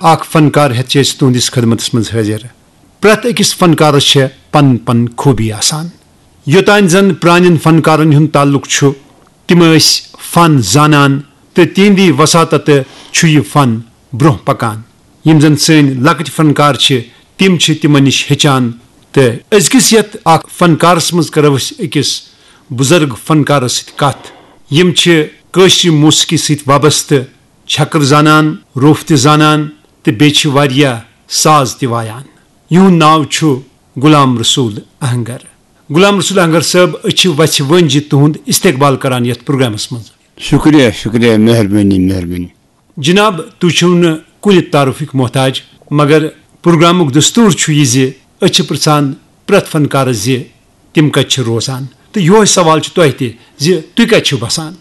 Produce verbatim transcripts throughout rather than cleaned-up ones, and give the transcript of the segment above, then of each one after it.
اکھ فنکار ہیتھ چھِ أسۍ تُہنٛدِس خدمتس منٛز حٲضِر۔ پرٛٮ۪تھ أکِس فنکارس چھےٚ پنٕنۍ پنٕنۍ خوٗبی آسان۔ یوٚتانۍ زن پرٛانٮ۪ن فنکارن ہُنٛد تعلق چھُ، تِم ٲسۍ فن زانان تہٕ تِہنٛدی وساطتہٕ چھُ یہِ فن برٛونٛہہ پکان۔ یِم زن سٲنۍ لۄکٕٹۍ فنکار چھِ، تِم چھِ تِمن نِش ہیٚچھان۔ تہٕ أزکِس یتھ اکھ فنکارس منٛز کرو أسۍ أکِس بُزرگ فنکارس سۭتۍ کتھ۔ یِم چھِ کٲشرِ موسیقی سۭتۍ وابستہٕ، چھکٕر زانان، روٚف تہِ زانان تہٕ بیٚیہِ چھِ واریاہ ساز تہِ وایان۔ یِہُنٛد ناو چھُ غلام رسول اہنگر۔ غلام رسول اہنگر صٲب، أسۍ چھِ وژھِ ؤنۍ زِ تُہُنٛد استقبال کران یتھ پروگرامس منٛز۔ شکریہ، شکریہ، مہربٲنی، مہربٲنی۔ جناب، تُہۍ چھِو نہٕ کُنہِ تعارفٕکۍ محتاج، مگر پروگرامُک دستور چھُ یہِ زِ أسۍ چھِ پرژھان پرٛٮ۪تھ فنکارس زِ تِم کتہِ چھِ روزان۔ تہٕ یِہوے سوال چھُ تۄہہِ تہِ زِ تُہۍ کتہِ چھِو بسان؟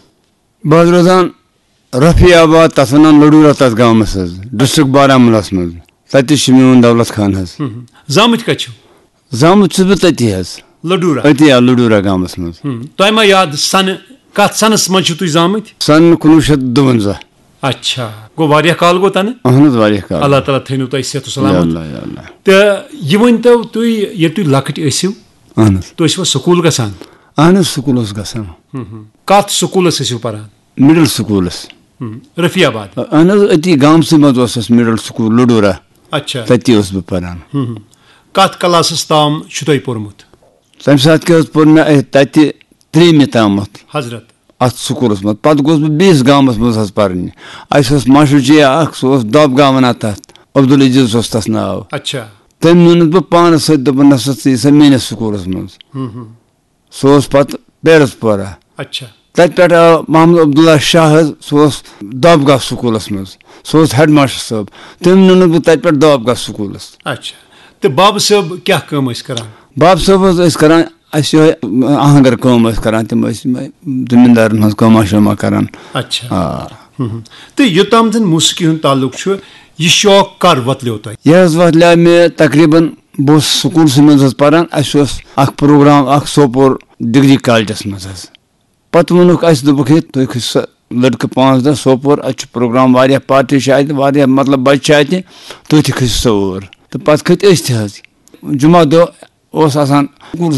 بہٕ حظ روزان رفیع آباد، تَتھ وَنان لڈورہ، تَتھ گامَس حظ، ڈسٹرکٹ بارہمولاہَس منٛز۔ تَتہِ چھُ میون دولت خان حظ۔ ہم۔ زامٕتۍ کتہِ چھِو؟ زامُت چھُس بہٕ تٔتی حظ۔ لڈورہ؟ أتی آ، لڈورہ گامَس منٛز۔ ہم۔ تۄہہِ ما یاد سنہٕ، کتھ سنس منٛز چھِو تُہۍ زامٕتۍ؟ سن کُنوُہ شیٚتھ دُوَنزاہ۔ اچھا، گوٚو واریاہ کال گوٚو تَنہٕ۔ اہن حظ، واریاہ کال۔ اللہ تعالیٰ تھٲینو تۄہہِ صحت و یا سلامت۔ اللہ، یا اللہ۔ تہٕ یہِ ؤنۍ تو تُہۍ، ییٚلہِ تُہۍ لۄکٕٹۍ ٲسِو، اہن حظ۔ تُہۍ ٲسِوا سکوٗل گژھان؟ اہن حظ، سکوٗل اوس گژھان۔ ہم، ہم۔ کتھ سکوٗلس ٲسِو پران؟ مڈل سکوٗلس۔ ہم، رفیع آباد۔ اہن حظ، أتی گامسٕے منٛز اوس اَسہِ مڈل سکوٗل لڈورہ۔ اچھا۔ تَتی اوسُس بہٕ پران۔ ہم، ہم۔ کتھ کلاسس تام چھُ تۄہہِ پوٚرمُت؟ تَمہِ ساتہٕ کیٛاہ حظ پوٚر مےٚ اَتہِ تَتہِ ترٛیٚیِمہِ تامَتھ۔ حضرت۔ اَتھ سکوٗلس منٛز۔ پتہٕ گوس بہٕ بیٚیِس گامس منٛز حظ پرنہِ۔ اَسہِ اوس ماشٹر جی اکھ، سُہ اوس دۄب گامن اَتھ تَتھ۔ عبدالعزیز اوس تَس ناو۔ اچھا۔ تٔمۍ نیونَس بہٕ پانَس سۭتۍ، دوٚپُن، "نسا، ژٕ یہِ سا میٲنِس سکوٗلس منٛز۔" ہم، ہم۔ سُہ اوس پتہٕ پیرس پورہ۔ اچھا۔ تتہِ پٮ۪ٹھ آو محمد عبداللہ شاہ حظ، سُہ اوس دۄبگام سکوٗلس منٛز، سُہ اوس ہیڈ ماسٹر صٲب۔ تٔمۍ نیونَس بہٕ تتہِ پٮ۪ٹھ دۄبگام سکوٗلس۔ اچھا۔ تہٕ بابہٕ صٲب کیٛاہ کٲم ٲسۍ کران؟ بابہٕ صٲب حظ ٲسۍ کران اَسہِ یِہوٚے آہنگر کٲم ٲسۍ کران، تِم ٲسۍ یِمَے زٔمیٖندارن ہٕنٛز کٲما شٲما کران۔ اچھا۔ آ۔ ہم۔ تہٕ یوٚتام زن موسیقی ہُنٛد تعلق چھُ، یہِ شوق کر وۄتلیو تۄہہِ؟ یہِ حظ وۄتلیو مےٚ تقریباً، بہٕ اوسُس سکوٗلسٕے منٛز حظ پران، اَسہِ اوس اکھ پروگرام اکھ سوپور ڈگری کالجس منٛز حظ۔ پتہٕ ووٚنُکھ اَسہِ، دوٚپُکھ، "ہے، تُہۍ کھٔسِو سا لڑکہٕ پانٛژھ دہ سوپور، اَتہِ چھُ پروگرام واریاہ، پارٹی چھِ اَتہِ واریاہ، مطلب بچہِ چھِ اَتہِ، تُہۍ تہِ کھٔسِو سا اور۔" تہٕ پتہٕ کھٔتۍ أسۍ تہِ حظ۔ جمعہ دۄہ اوس آسان سکوٗلسٕے